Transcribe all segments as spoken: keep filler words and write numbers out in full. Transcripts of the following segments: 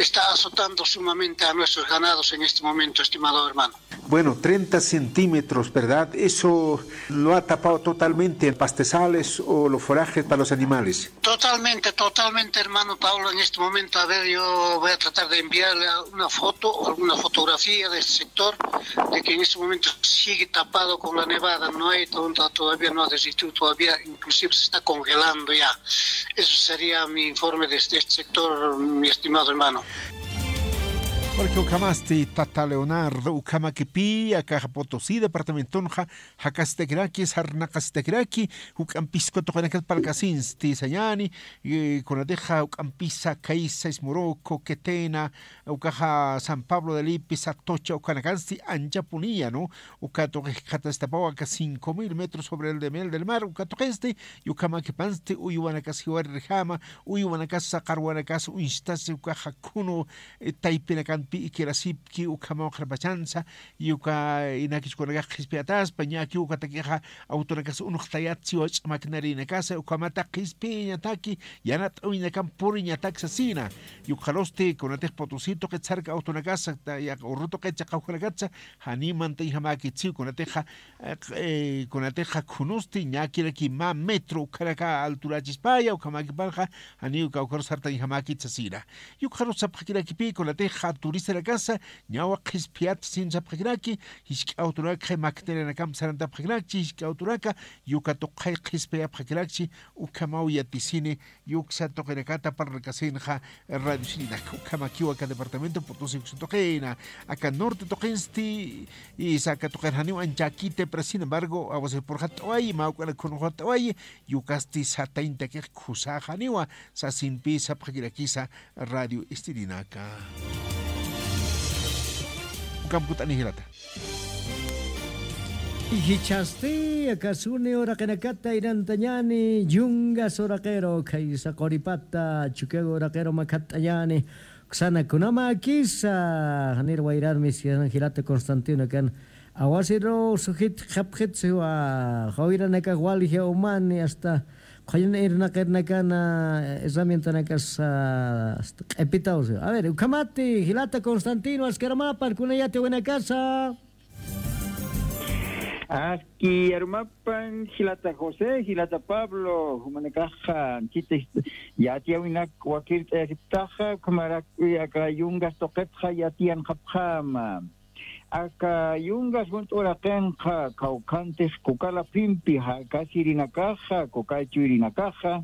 está azotando sumamente a nuestros ganados en este momento, estimado hermano. Bueno, treinta centímetros, ¿verdad? Eso lo ha tapado totalmente pastizales o los forrajes para los animales. Totalmente, totalmente, hermano Pablo. En este momento, a ver, yo voy a tratar de enviarle una foto o alguna fotografía de ese sector, de que en este momento sigue tapado con la nevada, no hay, to- todavía no ha desistido, todavía inclusive se está congelando ya. Eso sería mi informe desde este sector, mi estimado hermano. Porque ukhamasti tata Leonardo, ukhamakipï, akaxa Potosí departamentonxa, jakasitakiraki, sarnaqasitakiraki, juk'ampisku tuqinakat parlkasinsti sañäni, eh, kunatixa juk'ampisa, Caiza, Ismoroco, Quetena, ukaxa San Pablo de Lipis, Atocha, ukanakansti anchapuniya, ¿no? Uka tuqi jikxatastapawa aka cinco mil metros sobre el nivel del mar, uka tuqinsti, y ukhamakipansti, uywanakas jiwarirjama, uywanakasa, qarwanakas uñstasi, ukaxa khunu, eh, taypinakampi ikirasipki, ukhamaw qharpachansa, y uka inakichkunakax qhispiyataspa, ñakiw ukatakixa, awtunakas unuxtayatsi, wach'a maquinarinakasa, ukhamata qhispiyañataki, yanat'awinakam puriñatak sasina. Y ukxarusti, kunatix Potosí tuqit sarka awtunakasa, ta-, yaq urru tuqit chaqawjanakatsa, janiw mantañjamäkitsi, kunatixa, eh, q-, eh, kunatixa khunusti, ñakiraki mä metro, ukharaka alturachispaya, ukhamakipanxa, janiw kawkharus sartañjamäkit sasina. Y ukxarus sapxakirakipï, kunatixa turistanakasa, ñawa qhispiyat sin sapxakiraki, jisk'a awtunaka maquinarianakamp sarantapxakirakchi, jisk'a awtunaka, y uka tuqi qhispiyapxakirakchi, ukhamaw yatisini, y uksa tuqinakata parlkasinxa, radio sirinaka, ukhamakiw aka departamento Potosí uksa tuqina, aka norte tuqinsti, y saka tuqin janiw anchakiti, pero sin embargo, awasir purxat'awayi, mä uk'ana khunxat'awayi, y ukasti satañtakix khusaxaniwa, sasinpï sapxakirakisa radio istirinaka. Ukham kut'ani jilata. Jichhasti, aka suni uraqinakata inantañäni, Yungas uraqiru, khaysa quripata, Chukiyawu uraqiru makhatt'añäni, uksana kunamäkisa, janir wayrar miskisan jilata Constantino kan, awasiru sujit qhapxit siwa, jawiranakax walja umani, hasta qhullin irnaqirnakana, herramientanakasa, hasta q'ipitaw siwa. A ver, ukhamati, jilata Constantino, askiramapan, kuna yatiyawinakasa. Aski arumapan, jilata José, jilata Pablo, jumanakaxa, anchita yatiyawinak wakirt'ayasiptaxa, ukhamarak, aka Yungas tuqitxa yatiyanxapxäma. Aka Yungas junt'u uraqinxa, kawkhantix Kukala phimpi, jakasirinakaxa, Kukala chuyrinakaxa,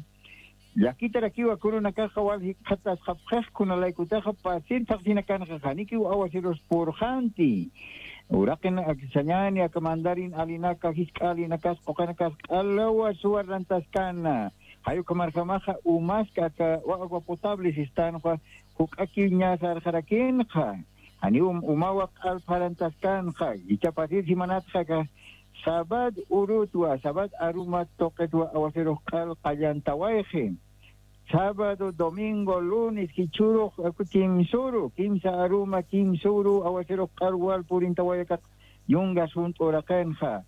llakitarakiwa kunanakaxa wal jikxatasxapxix, kunalaykutaxa pasir thaqsinakanxa, janikiw awasirus purxanti. Uraqin ak-, sañäni aka mandarin alinaka, jisk'a alinakas, quqanakas, q'alawa suwarrantaskana. Jay ukhamarjamaxa umask aka wa-, agua potable sistanxa, juk'akiw ñä sarxarakinxa. Janiw um-, umawa q'al pharantaskanxa, jichha pasir jimanatxa aka, Sabad urutwa, Sabad aruma tuqitwa awasirux q'al qallantawayxi. Sábado, domingo, lunes, jichhürux, aku kimsüru, kimsa aruma, kimsüru, awasirux q'al wal purintawaya aka Yungas junt'u uraqinxa.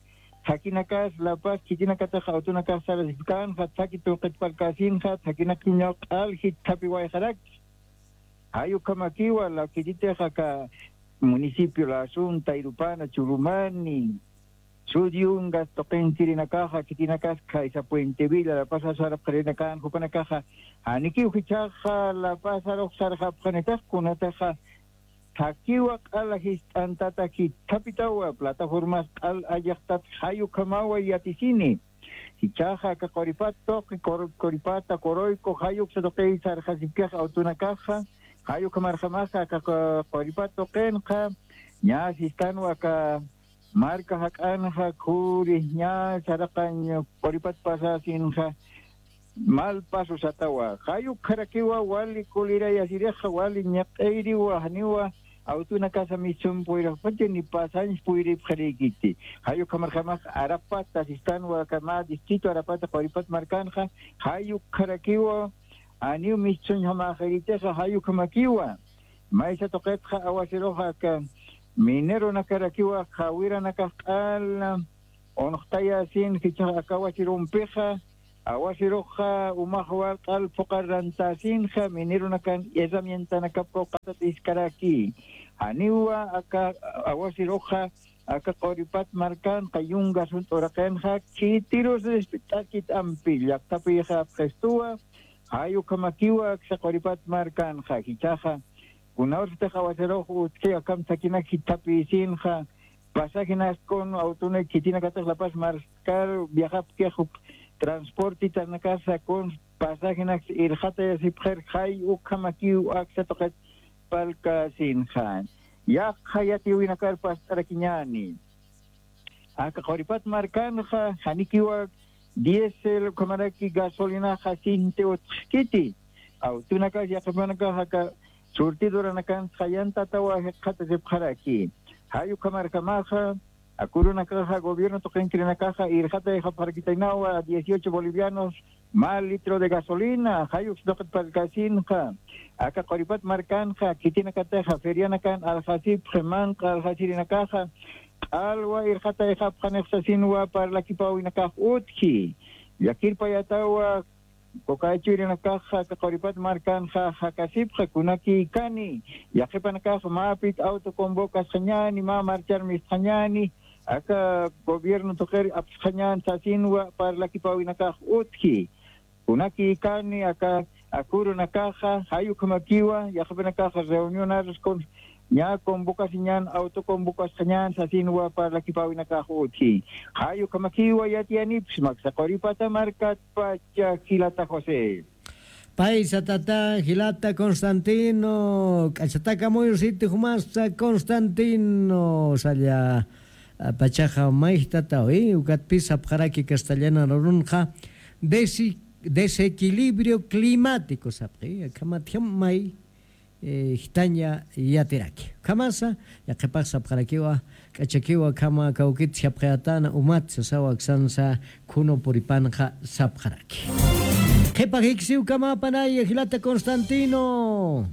Thakinakas, La Paz, khitinakatix awtunakax sarasipkanxa, thaki tuqit parlkasinxa, thakinakñaw q'al jithapiwayxarakchi. Jay ukhamakiwa, la khititix aka municipio Lasunta, Irupana, Churumani, Sud Yungas tuqinchirinakaxa, khitinakas khaysa Puente Villa, La Paz sarapxarinakan, jupanakaxa, janikiw jichhaxa La Paz sarux sarxapxanitix, kunatixa, thakiwa q'ala jist'antata jithapitäwa, plataformas q'al allixtat, jay ukhamawa yatisini. Jichhaxa aka Quripat tuqi, Qur-, Quripata, Quruyku, jay uksa tuqiy sarxasipkix awtunakaxa, jay ukhamarjamaxa aka Qu-, Quripat tuqinxa, ñä sistanwa aka marka jak'anxa, khuri, ñä saraqañ Quripat pasasinxa, mal paso satawa. Jay ukharakiwa wali kulirayasirixa, wali ñiq'iriwa, janiwa awtunakasa mischhun puyraxpacha ni pasañs puyripxarïkiti. Jay ukhamarjamax Arapata sistanwa aka mä distrito Arapata Quripat markanxa, jay ukharakiwa, janiw mischhunjamäxiritixa, jay ukhamakiwa. Maysa tuqitxa awasiruxa aka mineronakarakiwa, jawiranakax q'al unxtayasin, jichhax aka awasirumpixa, awasiruxa umax walq'al phuqar rantasinxa mineronakan herramientanakap quqatat iskaraki. Janiwa aka awasiruxa aka quripat markanxa yungas junt'uraqinxa khitirus rispit'akit ampi llaqtapixa apxistuwa. Jay ukhamakiwa aksa quripat markanxa jichhaxa kunawsatix awasirux utji akham thakinak jithapisinxa pasajinakskun awtunak khitinakatix lapas marskar viajapkix uk transportitanakasa kun pasajinaks irxatayasipxir jay ukhamakiw aksa tuqit palkasinxa. Yaqha yatiwinakar past'arakiñäni aka quripat markanxa janikiwa diésel ukhamaraki gasolinaxa sinti utxkiti awtunakas yaqhipanakax aka surtidoranakansa jayantatawa jikxatasipxaraki. Jay ukhamarjamaxa akurunakaxa gobierno tuqinkirinakaxa irxatayxapxarakitaynawa dieciocho bolivianos mä litro de gasolina jay uksa tuqit parlkasinxa. Aka quripat markanxa khitinakataxa ferianakan aljasipxi manq'a aljasirinakaxa q'alwa irxatayxapxanix sasinwa parlakipäwinakax utji. Llakirpayatawa kukaychwirinakaxa aka quripat markanxa jakasipxi kunakïkani yaqhipanakax mä pit auto convocasxañäni mä marchar mistxañäni aka gobierno tuqir apsxañän sasinwa parlakipäwinakax utji. Kunakïkani aka akurunakaxa jay ukhamakiwa yaqhipanakaxa reunionaruskun ñä convocasiñän auto convocasxañän sasinwa parlakipäwinakax utji. Jay ukhamakiwa yatiyanipxsma aksa quripata markatpacha jilata josé. Paysa tata jilata constantino k'achataka muyusiti jumasta constantino salla pachaxa mayjtatawi ukatpis sapxaraki castellana rurunxa desi desequilibrio climático sapxi akhamatjam may jitaña yatiraki ukhamasa yaqhipax sapxarakiwa k'achakiwa akhama kawkit sapxayatana umat sasawa aksansa khunu puripanxa sapxaraki. Qhipa jiksiw ukamapanaya jilata constantino.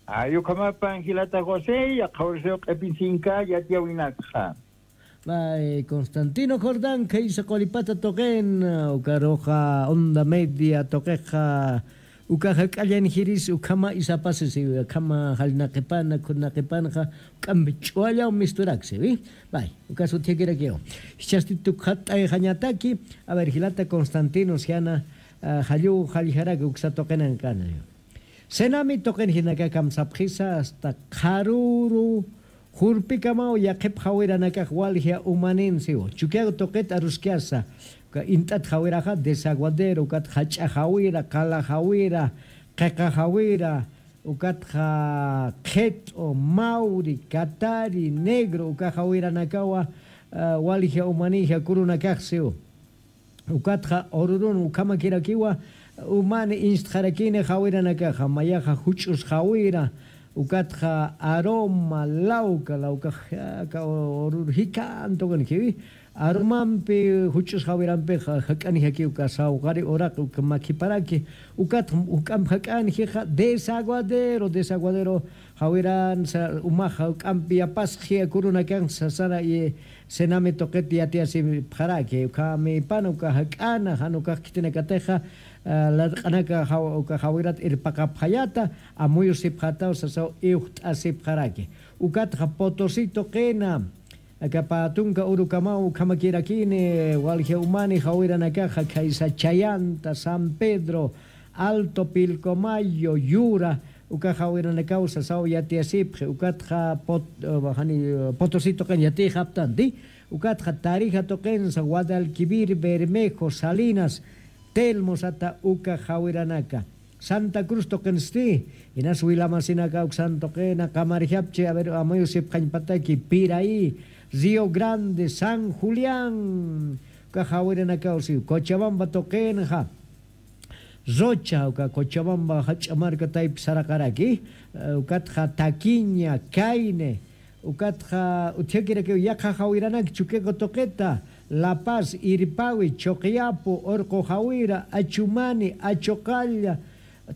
Ay ukhamapan jilata josé yaqhawrsew q'epinsinka yatiyawinakxa. Constantino jordán khaysa quripata tuqin ukaruxa onda media tuqixa uka jak'allan jiris ukhama isapasisiwi akhama jallnaqipana khurnaqipanxa uk'ampi ch'uwallaw misturaksiwi. May ukas utjakirakiw. Jichhasti tukxat'ayxañataki. A ver jilata constantino siana jalluw jalljaraki uksa tuqinankana. Senami tuqin jinaka kamsapxisa asta qharuru jurpikamaw yaqhip jawiranakax walja umanin siwa chukiaw tuqit aruskiasa. Uka int'at jawiraxa desaguadero ukat jach'a jawira qala jawira qhiqa jawira ukatxa qhit'u mawri katari negro uka jawiranakawa walja umanija kurunakax siwa. Ukatxa ururun ukhamakirakiwa umani instxarakini jawiranakaxa mayaxa juch'us jawira ukatxa aroma lawka lawkax aka urur jikhan tuqinjiwi aromampi juch'us jawirampixa jak'anjaki uka sawqari uraqi uka makhiparaki. Ukatxa juk'amp jak'anjixa desaguadero desaguadero jawiransa umaxa juk'ampi yapasxi akurunakansa sasara y senami tuqit yatiyasipxaraki ukhamipana uka jak'ana jan ukax khitinakatixa latq'anaka uka jawirat irpaqapxayata amuyusipxataw sasaw iwjt'asipxaraki. Ukatxa potosito qina aka pä tunka urukamaw ukhamakirakini walja umani jawiranakaxa khaysa chayanta san pedro alto pilcomayo yura uka jawiranakaw sasaw yatiyasipxi ukatxa potosito qin yatiyxaptanti. Ukatxa tarija tuqinsa guadalquivir bermejo salinas telmo sata uka jawiranaka santa cruz tuqinsti. Inas wilamasinaka uksan tuqina qamarjapchi aver amuyusipxañpataki piraí río grande san julián uka jawiranakaw siw cochabamba tuqinxa rocha uka cochabamba jach'a marka taypi saraqaraki. Ukatxa taquiña caine ukatxa utjakirakiw yaqha jawiranak chukiqu tuqita la paz irpawi chuqiyapu urqu jawira achumani achuqalla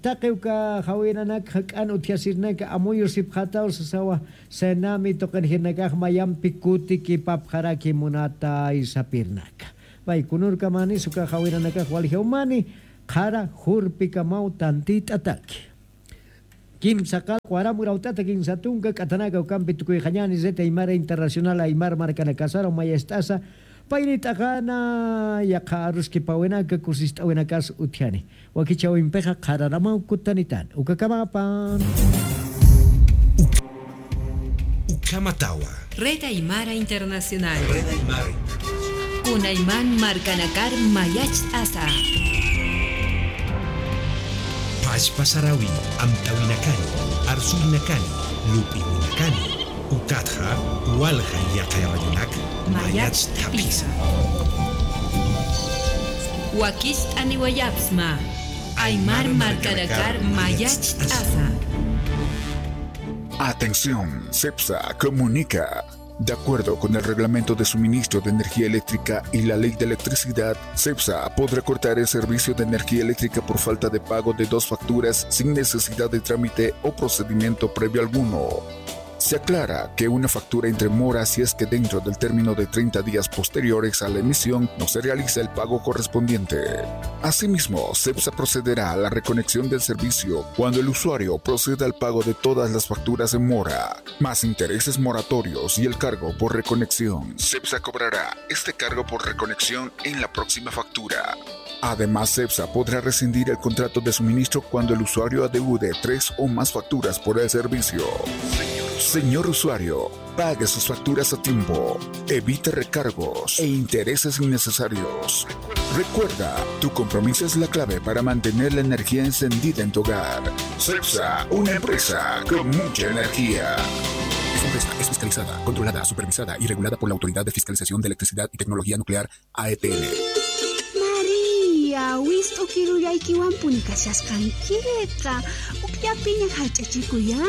taqi uka jawiranak jak'an utjasirnaka amuyusipxataw sasawa. Senami tuqinjirnakax mayampi kutikipapxaraki munatay sapirnaka. Pay kunurkamani, suka jawiranakax waljawmani, qhara jurpikamaw tantit'ataki. Kimsa qallqu aram urawt'ata kinsa tunka k'atanaka ukampi tukuyxañani Red Aymara Internacional Aymar markanakasaraw mayacht'asa, payrit'axana yaqha aruskipawinaka kusist'awinakas utjani. Wakichäwimpixa qhararamaw kutanitan. Ukakamapan. Ukhamatawa. Red Aymara Internacional. Red Aymara. Kunayman markanakar mayacht'asa. Pachpa sarawin, amtawinakani, arsurinakani, lup'irinakani, ukatxa walja yaqha radionak mayacht'apisa. Mayacht'apisa. Wakicht'aniwayapxsma. Aymar markanakar mayacht'asa. Atención, CEPSA comunica. De acuerdo con el Reglamento de Suministro de Energía Eléctrica y la Ley de Electricidad, CEPSA podrá cortar el servicio de energía eléctrica por falta de pago de dos facturas sin necesidad de trámite o procedimiento previo alguno. Se aclara que una factura entra en mora si es que dentro del término de treinta días posteriores a la emisión no se realiza el pago correspondiente. Asimismo, CEPSA procederá a la reconexión del servicio cuando el usuario proceda al pago de todas las facturas en mora, más intereses moratorios y el cargo por reconexión. CEPSA cobrará este cargo por reconexión en la próxima factura. Además, CEPSA podrá rescindir el contrato de suministro cuando el usuario adeude tres o más facturas por el servicio. Señor usuario, pague sus facturas a tiempo. Evite recargos e intereses innecesarios. Recuerda, tu compromiso es la clave para mantener la energía encendida en tu hogar. CEPSA, una empresa con mucha energía. Esta empresa es fiscalizada, controlada, supervisada y regulada por la Autoridad de Fiscalización de Electricidad y Tecnología Nuclear, A E T L. María, wist'u kirullaykiwanpuni kashasqankiqa. Ukllapiña jallch'achikuyá.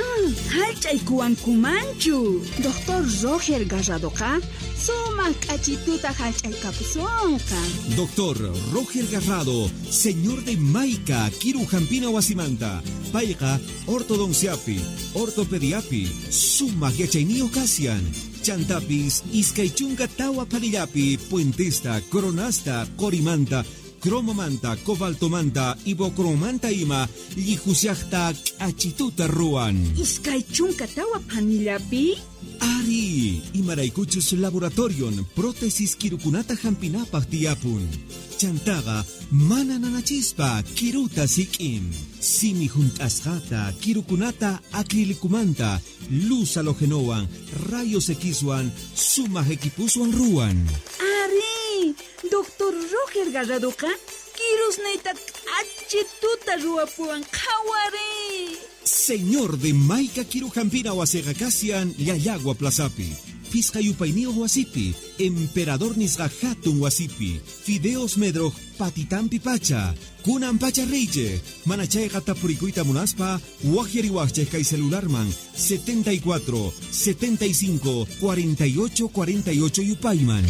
Jallch'aykuwankumanchu. Doctor Roger Garradoqa sumaq k'achituta jallch'aykapusunqa. Doctor Roger Garrado, señor de Maica, Kirujampina wasimanta. Payqa ortodonciapi, ortopediapi sumaq yachayniyuq kasyan. Chantapis iskay chunka tawa phanillapi puentesta, coronasta, qurimanta, cromomanta, cobaltomanta, ibocromanta ima llijushaqta k'achituta ruwan. Iskay chunka tawa phanillapi? Ari, imaraykuchus laboratorion prótesis kirukunata jampinapaq tiyapun. Chantaqa mana nanachispa kiruta sik'in. Simi junt'asqata, kirukunata acrílicomanta, luz halógenowan, rayos X-wan, sumaq equiposwan ruwan. Ari, doctor Roger Garradoqa kirusnayta k'achituta ruwapuwan, qhawari. Señor de Maica Kirujampina wasiqa kasyan Llallagua plazapi, phisqa yupayniyuq wasipi, Emperador nisqa jatun wasipi, Fideos Medroq patitampi pacha. Kunan pacha riychi, mana chayqa tapurikuyta munaspa, waqyariwaqchik kay celularman, setenta y cuatro, setenta y cinco, cuarenta y ocho, cuarenta y ocho yupayman.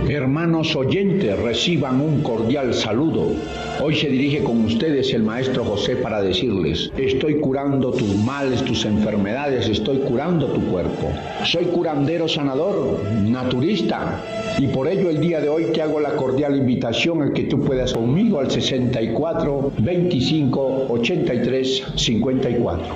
Hermanos oyentes, reciban un cordial saludo. Hoy se dirige con ustedes el maestro José para decirles: estoy curando tus males, tus enfermedades, estoy curando tu cuerpo. Soy curandero sanador, naturista, y por ello el día de hoy te hago la cordial invitación a que tú puedas conmigo al sesenta y cuatro, veinticinco, ochenta y tres, cincuenta y cuatro.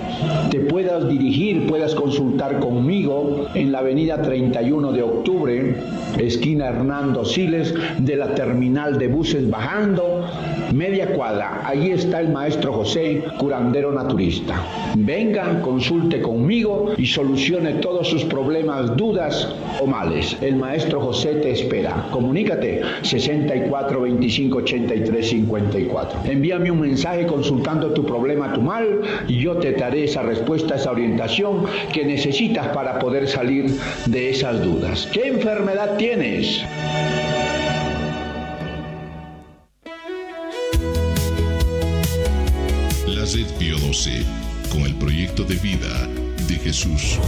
Te puedas dirigir, puedas consultar conmigo en la avenida treinta y uno de octubre, esquina Hernando Siles, de la terminal de buses bajando media cuadra. Allí está el maestro José, curandero naturista. Venga, consulte conmigo y solucione todos sus problemas, dudas o males. El maestro José te espera. Comunícate, sesenta y cuatro, veinticinco, ochenta y tres, cincuenta y cuatro. Envíame un mensaje consultando tu problema, tu mal, y yo te daré esa respuesta, esa orientación que necesitas para poder salir de esas dudas. ¿Qué enfermedad tienes? La Red Pío doce, con el proyecto de vida de Jesús.